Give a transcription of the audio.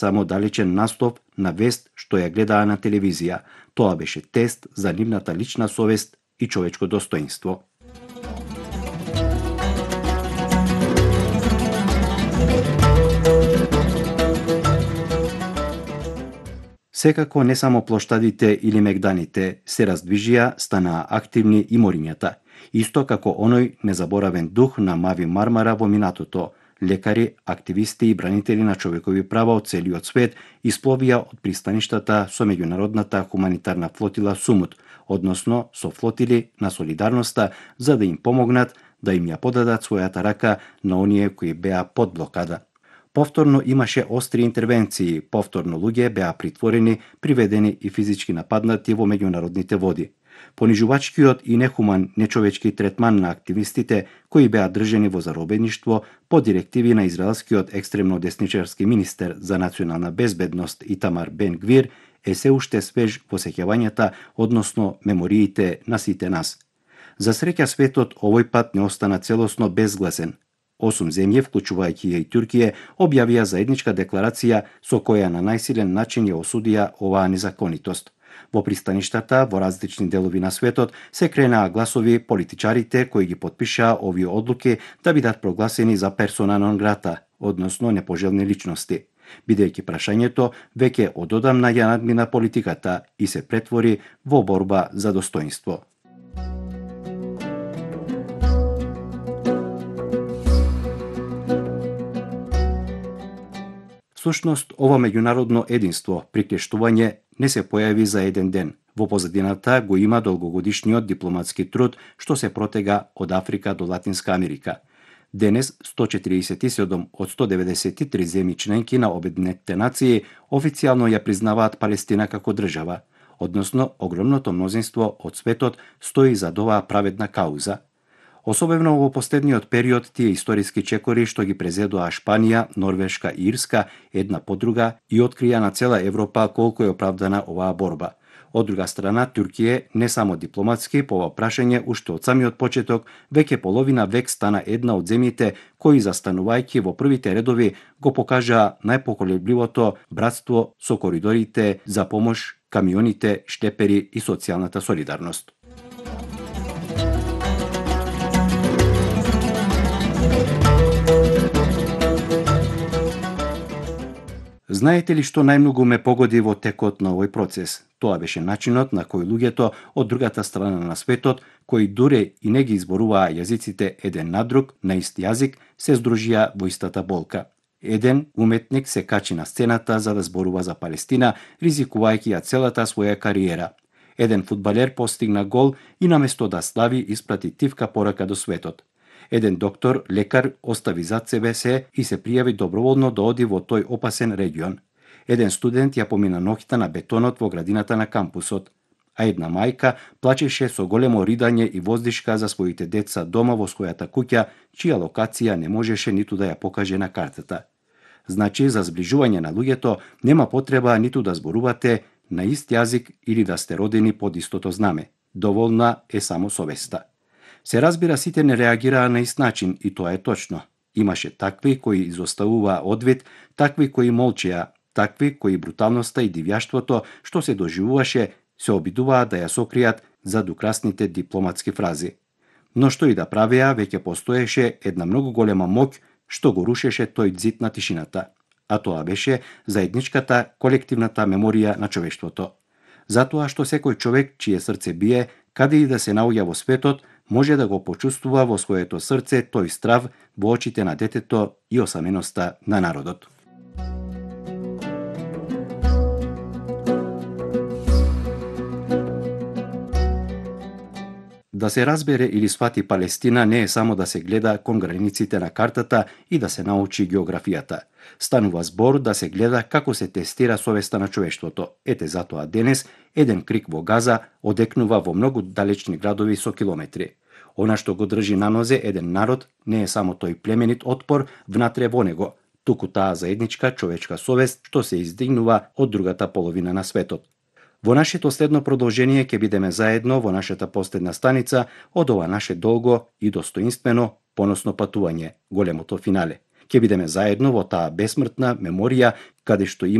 само далечен наслов на вест што ја гледаа на телевизија. Тоа беше тест за нивната лична совест и човечко достоинство. Секако не само плоштадите или мегданите се раздвижија, станаа активни и морињата. Исто како оној незаборавен дух на Мави Мармара во минатото. Лекари, активисти и бранители на човекови права од целиот свет испловија од пристаништата со меѓународната хуманитарна флотила Сумут, односно со флотили на солидарноста, за да им помогнат да им ја подадат својата рака на оние кои беа под блокада. Повторно имаше остри интервенции, повторно луѓе беа притворени, приведени и физички нападнати во меѓународните води. Понижувачкиот и нехуман нечовечки третман на активистите кои беа држени во заробеништво по директиви на израелскиот екстремно десничарски министер за национална безбедност Итамар Бен Гвир е се уште свеж во сеќавањата, односно мемориите на сите нас. За среќа светот овој пат не остана целосно безгласен. 8 земји, вклучувајќи ја и Туркија, објавија заедничка декларација со која на најсилен начин ја осудија оваа незаконитост. Во пристаништата во различни делови на светот се кренаа гласови политичарите кои ги потпишаа овие одлуки да бидат прогласени за персона нон грата, односно непожелни личности, бидејќи прашањето веќе ододамна ја надмина политиката и се претвори во борба за достоинство. Всушност, ова меѓународно единство, приклештување, не се појави за еден ден. Во позадината го има долгогодишниот дипломатски труд што се протега од Африка до Латинска Америка. Денес 147 од 193 земји членки на Обединетите нации официјално ја признаваат Палестина како држава, односно огромното мнозинство од светот стои за оваа праведна кауза. Особено во последниот период тие историски чекори што ги презедоа Шпанија, Норвешка и Ирска една по друга и открија на цела Европа колку е оправдана оваа борба. Од друга страна, Туркија не само дипломатски по ова прашање уште од самиот почеток, веќе половина век стана една од земјите кои застанувајќи во првите редови го покажаа најпоколебливото братство со коридорите за помош, камионите, штепери и социјалната солидарност. Знаете ли што најмногу ме погоди во текот на овој процес? Тоа беше начинот на кој луѓето од другата страна на светот, кои дуре и не ги изборуваа јазиците еден на друг, на ист јазик, се здружија во истата болка. Еден уметник се качи на сцената за да зборува за Палестина, ризикувајќи ја целата своја кариера. Еден фудбалер постигна гол и наместо да слави испрати тивка порака до светот. Еден доктор, лекар, остави зад себе се и се пријави доброволно да оди во тој опасен регион. Еден студент ја помина ноќта на бетонот во градината на кампусот, а една мајка плачеше со големо ридање и воздишка за своите деца дома во својата куќа, чија локација не можеше ниту да ја покаже на картата. Значи, за зближување на луѓето нема потреба ниту да зборувате на ист јазик или да сте родени под истото знаме. Доволна е само совеста. Се разбира, сите не реагираа на ист начин и тоа е точно. Имаше такви кои изоставуваа одвид, такви кои молчеа, такви кои бруталноста и дивјаштвото што се доживуваше се обидуваа да ја сокријат зад украсните дипломатски фрази. Но што и да правеа, веќе постоеше една многу голема моќ што го рушеше тој зид на тишината, а тоа беше заедничката колективната меморија на човештвото. Затоа што секој човек чие срце бие, каде и да се наоѓа во светот, може да го почувствува во своето срце тој страв во очите на детето и осаменоста на народот. Да се разбере или свати Палестина не е само да се гледа кон границите на картата и да се научи географијата. Станува збор да се гледа како се тестира совеста на човештвото. Ете затоа денес еден крик во Газа одекнува во многу далечни градови со километри. Она што го држи на нозе еден народ не е само тој племенит отпор внатре во него, туку таа заедничка човечка совест што се издигнува од другата половина на светот. Во нашето следно продолжение ќе бидеме заедно во нашата последна станица од ова наше долго и достоинствено поносно патување, големото финале. ќе бидеме заедно во таа бесмртна меморија каде што